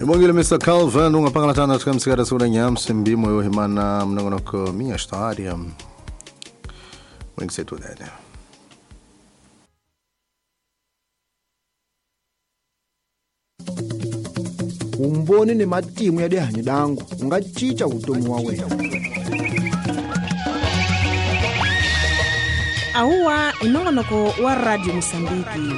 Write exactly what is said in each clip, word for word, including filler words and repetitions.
Ibongile mister Calvin ungaphakathana sikamsikada sura nyamsi mbimo yohimana mnongonoko minha história. Mwengisethu dada. Umboni ni matimu ya dihanyi dangu ungachicha utomi wa wena. Ahuwa inongonoko wa Radio Mosambiki.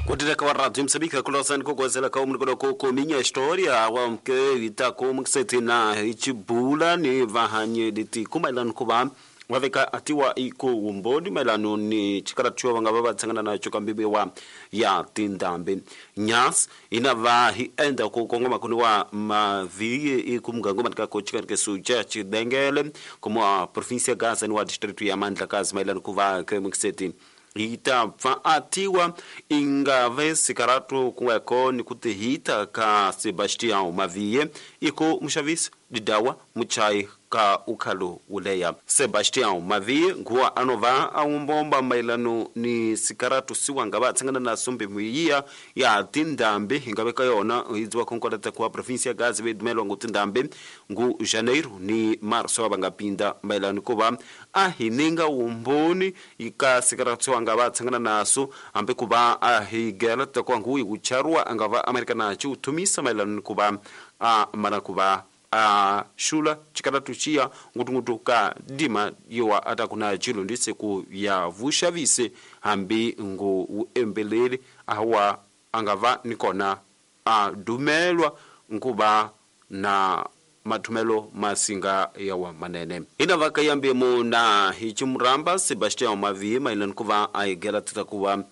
Kutireka wa Radio Mosambiki kulosa nikukwezela ka umnikolo koko minha história wa mke itako mkisetina ichibula ni vahanye diti kumailanu kuba waveka atiwa iko umboni mailanu ni chikarachua wanga baba tsangana na chokambibe wa ya tindambe nyas inava hi enda kukongoma kuniwa maviye ikumgango matika kochika kesuja chidengele como província Gaza no distrito ya Mandla kazi mailanu kuva kemkiseti hita fa atiwa ingave sikaratu kuweko ni kutihita ka Sebastião Mavie iko mshavisi didawa muchai ka ukhalo uleya Sebastião Mavie nguwa anova aumbomba mailano ni sikaratu siwanga batsangana na sombe muyiya ya tindambe ingabeka yona idziwa konkorata kwa província Gaza bedumelo ngutindambe ngu Janeiro ni Março bangapinda mailano kuba ahininga umboni ika sikaratu siwanga batsangana naso ambe kuba ahigela takwa nguyi kucharwa angava Amerika nacho utumisa mailano kuba a manakuba a shula chikaratu chia ngutungutu ka dima yowa atakuna chilo ndise ku ya vushavise hambi ngu uembelele awa angava nikona a dumelwa nkuba na matumelo masinga yawa manene ina vakayambe mu na hichimuramba Sebastião Mavie mailani kuva aigela titakuwa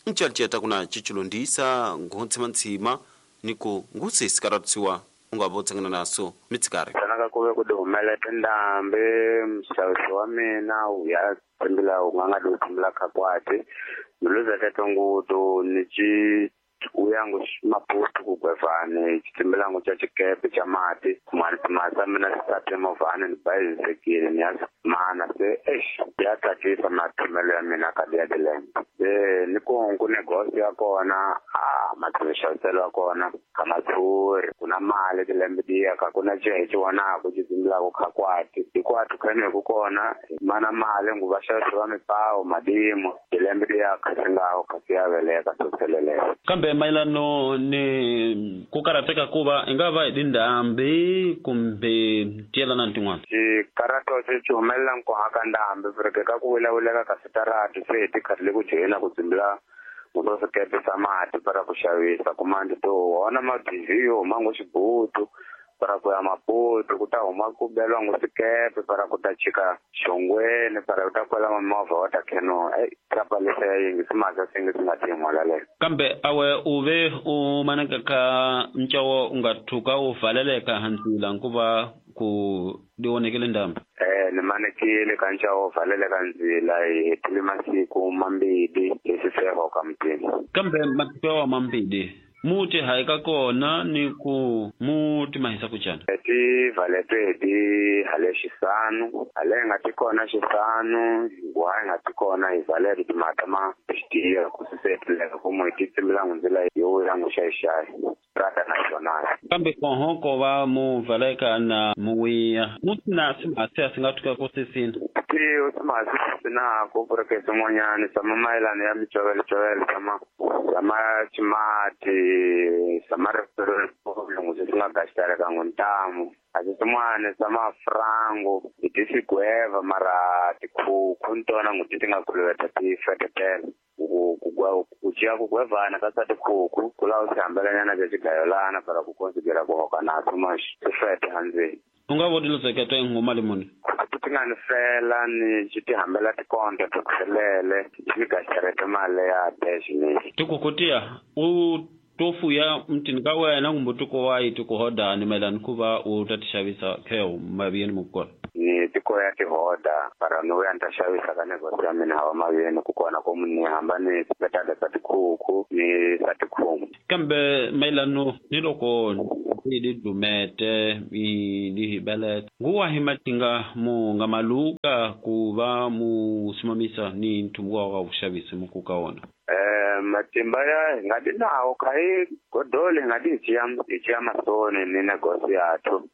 nchalcheta kuna chichilondisa ngontsimantsima niku ngusi sikaratusiwa ungabotsangana naso mitsikari sanaka kuve ku humela tindambe mxavisi wa mina u ya tshimbila u nga nga di tshimbila khakwati miluza teto ngutu ni ci uyangu Maputo ku gwevani xitsimbilangu xa xikepe xa mati masa mina sisate movhani ni bayisekile ni ya mana se eish ya tsakisa mathomelo ya mina ka ya tilembe se ni ku ku negosi ya kona a matshamiselo ya kona ka matshuri ku na mali tilembe tiya ka ku na cehe ci vonaku xitsimbilaku khakwati hikwatu khene ku kona mana mali ngu va xavisi va mipawu madimo tilembe tiya khasingawo kasi ya veleka soseleleka kambe mailano ni ku karateka kuva ingava hi tindhambi kumbe tiyelana ni tin'wana xikarato xi xi humelela nkoha ka ndhambi porque ka ku vulavuleka ka switarati se hi tikharhi le ku joyina ku tsimbila nguto swikepe swa mati para ku xavisa kumandi to wona mabhizi yo huma ngo xibutu para ku ya Maputo ku ta huma ku beliwa ngo swikepe para ku ta chika xongweni para ku ta kwela mimovha wa ta kheno ei trapalisa ya yingi simasa singi swi nga tin'wala leyo kambe awe u ve u manaka ka ncawo u nga thuka u valeleka handzila nkuva ku di onekele ndhambi eh ni manekile ka ncawo valeleka ndzila hi hetile masiku mambili leswi ka mutini kambe masiku yawa mambili muti haika kona ni ku muti mahisa kuchana ti valetwe di hale xisanu hale nga ti kona xisanu ngwa nga ti kona hi valete timhaka ma xitiya ku sisetleka ku mo ti tsimbilangu ndzila yo ya nguxaxayi Strada Nacional kambe koho ko va mu valeka na muwiya muti na simhasi a swi nga tuka ku sisina tiyo simhasi sinako porque swin'wanyani swa mamayelana ya micovelo sama sama ximati sama ripfulungu swi nga gaxitaleka ngo ntamu asi swin'wana swa mafrango hi ti swigweva mara tikhukhu ni tona ngo ti ti nga kuluveta ti fetetela ku ku ciya ku gwevana ka swa tikhukhu ku lava swi hambelanyana bya xigayolana para ku konsidera ku hoka naso ma swi fete handzeni u nga voni leswaku i ngoma limuni ti nga ni fela ni xi ti hambela tikonto to tlhelele ni gaxerete mali ya dash ni tikhukhu tiya u to fuya mutini ka wena kumbe tiko wa yi tiko hodani mayelana ku va u ta ti xavisa kheo maviyeni mukona ni tiko ya tihoda para ni vuya ni ta xavisa ka negosi ya mina hawa maviyeni ku kona ku ni hamba ni petale swa tikhukhu ni swa tikhumu kambe mayelano ni loko ni dumete ni hibelete nguwa hi matinga mu nga maluka ku va mu simamisa ni nthumbu wa vuxavisi mukuka wona eh Matimba ya hi nga di nawo kha hi godole hi nga di hi hi ciya masoni ni negosi yathu.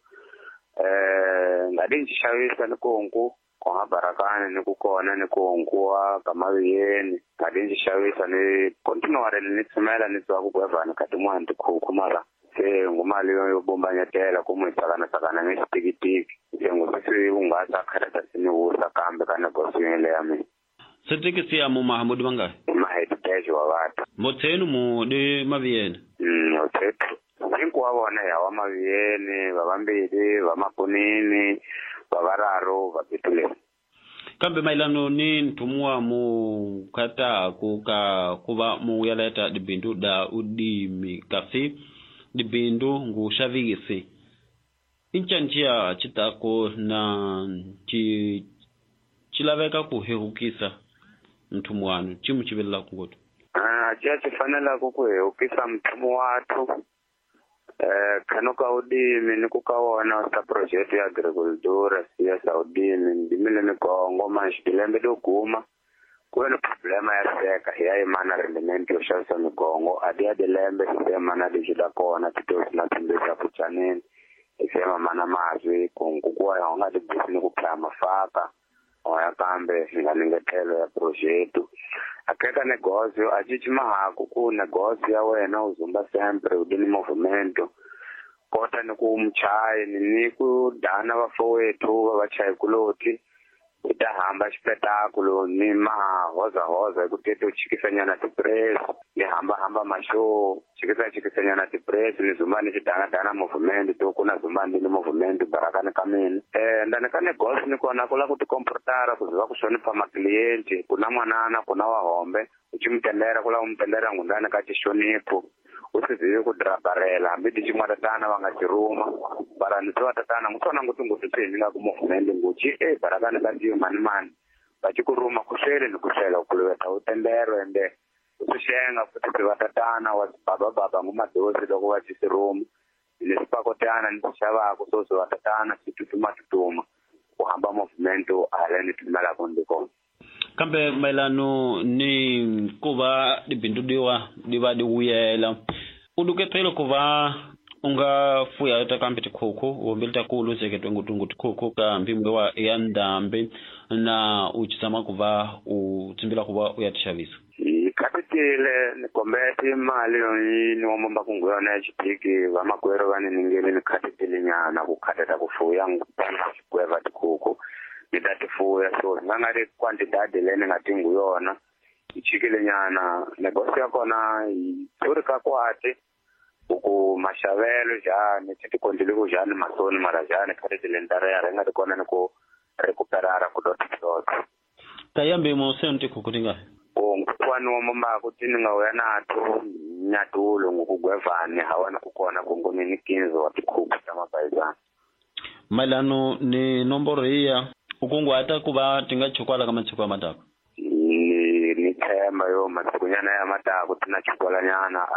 Eh nga di xavisa ni kunku konga barakani ni ku kona ni kunku wa ka maviyeni nga di xavisa ni continuare ni tsumela ni twa ku gwevana ka tin'wana tikhukhu mara se ngumali yo yo bombanyetela ku mu tsakana tsakana ni xitikitiki se ngusisi u nga ta khareta sini wusa kambe ka negosi le ya mina. Setekisi ya mu Mahamudi bangahi? Maheditejo wa vata. Motsenu mu di maviyeni? Mm, othethu. Hinkwavo vona ya wa maviyeni, va vambili, va mapunini, va vararo, va pituleni. Kambe mailano ni nthumuwa mu kataku ka kuva mu yaleta dibindu da udimi kasi dibindu ngu xavisi. Inchanchia chitako na chi chilaveka ku hehukisa mthumu wanu chimu chivelela kungoto. Ah, chia chifanela ku ku hehukisa mthumu wathu. Eh khano ka udimi ni ku ka wona sa project ya agricultura siya sa udimi ndimile mikongo manji dilembe do guma ku na problema ya seka ya imana rendimento yo xavisa migongo adi ya dilembe semana di da kona tito na tindesa kuchaneni sema mana mazwi kungu kwa ya nga di ni ku plama faka oya kambe nga ningetelo ya projeto akeka negócio a gente mahaku ku negócio ya wena uzumba sempre udini movimento kota ni ku mchayi ni ku dana vafowethu va vachayi kuloti u ta hamba xipetáculo ni maha hoza hoza hi ku tete u chikisanyana tipress ni hamba hamba mashow chikisa chikisanyana tipress ni zumba ni xidana dana movement to ku na zumba ni movement barakani ka mina. Eh ndani ka negócio ni kona ku la ku tikomportara ku ziva ku hlonipha maklienti ku na n'wanana ku na wa hombe u ci mutendera ku la u mutendera ngundani ka xixonipho u swi zivi ku drabarela hambi ti xin'wana tatana va nga xiruma bara ni swa tatana ngusona nguthu nguthu se ni nga ku movement nguchi e barakani ka ndiyo mani mani va ci ku ruma ku hlele ni ku hlela ku luveta u tendero ende u swi xenga futhi swi va tatana wa baba baba ngumadosi loko va ci siruma ni swipakotana ni swi xavaku so swi va tatana swi tutuma tutuma ku hamba movement hala ni tumelaka ndi kona. Kambe mailano ni ku va dibindu diwa di va di wuyela u luketele ku va u nga fuya ta kambe tikhukhu wombili ta kulu seketwe ngutungu tikhukhu ka mpimo wa ya ndhambi na u tshama ku va u tsimbila ku va u ya tixavisa. Hi khatitile ni kombete mali yo ni wa momba ku yona ya xipiki vamakwerhu va ni ningele ni khatitile nyana ku khateta ku fuya ngutana xikweva tikhukhu ni ta tifuya so nga nga ri quantidade leyi ni nga tingu yona yi chikile nyana negosi ya kona yi tluri ka kwati ku maxavelo njhani ti tikondile ku njhani masoni mara njhani khatitile ni ta re ri nga ri kona ni ku recuperara ku dot dot. Ta yambe mo se ntikhukhu ti ngahi? Kwani wa mamako tini nga uya nathu nyatulo ngukugwevani hawana kukona kungoni ni kinzo wa tikhukhu ta mabayizana. Mailano ni nomboro iya ukunguhata ku va ti nga chukwala ka masiku ya matako? Ni ni tshemba yo masikunyana ya matako ti na chukwalanyana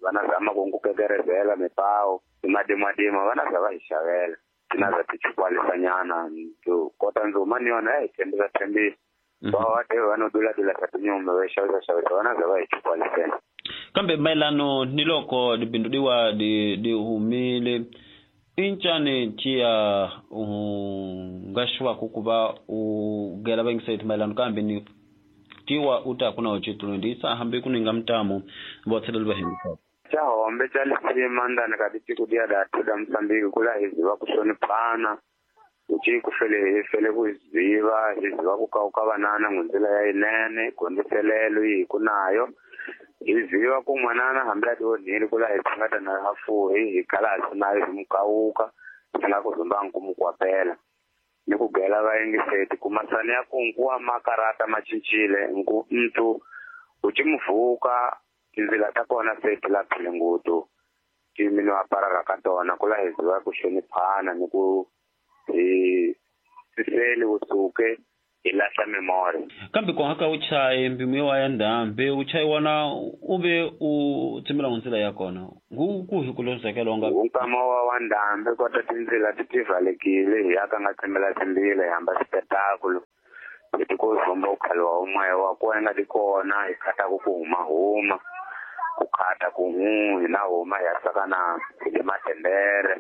vana zama ku nkukekerezela mipawo ni madimadima vana za va hi xavela ti na za ti chukwalisanyana to kota ndzuma ni yona ya hi tshembisa tshembisa va va te va no dula dula ta tinyumba va xavisa xavisa vana za va hi chukwalisela. Kambe mailano ni loko dibindu diwa di di humile incane tia u nga xwaku ku va u gela va mailano kambe ni tiwa u ta kuna uchitulo ndisa hambi kuninga mtamu votseleli va hembisa. Cha hombe cha lisima ndani ka tiko dia da tuda Msambiki kula hizi va ku hloniphana uchi ku fele hi fele ku ziva hi ziva ku kauka vanana ngundzila ya yinene gondiselelo yi ku nayo hi ziva ku n'wanana hambi a ti onhile kula hi nga ta na hafuhi hi kala hi nayo hi mukawuka hi nga ku zumba ku mukwapela ni ku gela va yingiseti ku masani ya kungu wa makarata ma cincile nku mntu u ci muvuka tindzila ta kona se ti laphile nguthu ti mino aparaka ka tona kula hi ziva ku hloniphana ni ku hi siseli usuke hi lahla memori. Kambe ku haka u chaye mpimo wa ya ndhambi u chayi wona u ve u tshimila ndzila ya kona ngu ku hi ku lozekela nga nkama wa wa ndhambi kota tindzila ti tivalekile hi ya ka nga tshimila timbila hi hamba xipetáculo Leti ko zomba ku khaliwa umwe wa kona nga ti kona hi khata ku ku huma huma ku khata ku hu hi na huma hi ya sakana hi le matendere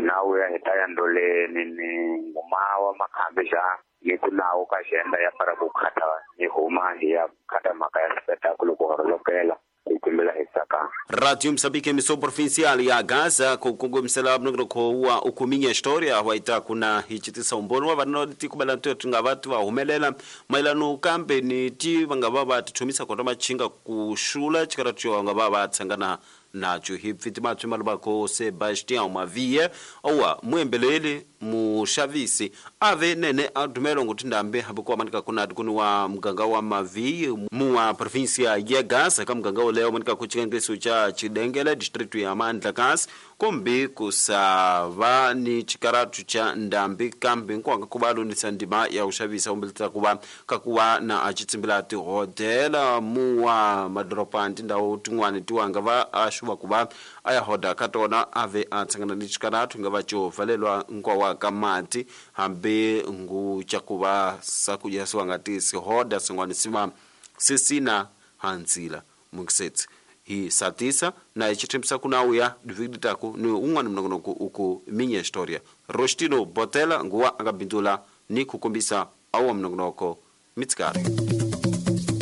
na uya hi ta ya ndoleni ni ngumawa makhambi xa ni ku nawu ka xenda ya para ku khata ni huma hi ya khata mhaka ya spectacle ku horolokela hi timbila hi sakana. Radio Moçambique, emissão provincial ya Gaza, kukongomisela mnongonoko wa ukuminya história waita kuna hichitisa umbono wa vanhu tikubela nto tinga vatu va humelela mayelano kambe ni ti va nga va va tithomisa kota machinga ku xula chikaratiwa va nga va va tshangana nacho hi pfiti matswi malubako Sebastião Mavie owa muembeleli muxavisi ave nene a dumelo nguti ndambe hambi ku amanika kuna kuni wa muganga wa Mavie muwa província ya Gaza ka muganga woleyo manika ku chikengeso cha Chidengele distrito ya Mandlakazi kumbi kusava ni chikaratu cha ndambi kambe nkwanga kuva lunisa ndima ya uxavisa umbeleta kuva kakuva na achitsimbila tihodela muwa madoropa tindhawu tin'wani tiwanga va axuva kuva a ya hoda ka tona ave a tshangana ni chikaratu nga va xo valelwa nkwawa ka mati hambi ngu cha kuva sakudya siwa nga tisi hoda swin'wana sima sisina hanzila mukisetsi hi satisa na ichithembisa kuna uya dividitaku ni un'wana mnongonoko uku minya historia Rostino Botela nguwa angabindula ni kukombisa awa mnongonoko mitsikari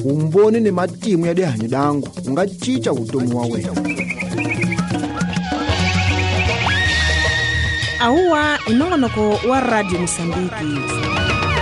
umboni ni matimu ya dihanyi dangu unga chicha vutomi wa wena. Auwa inongonoko wa Radio Moçambique.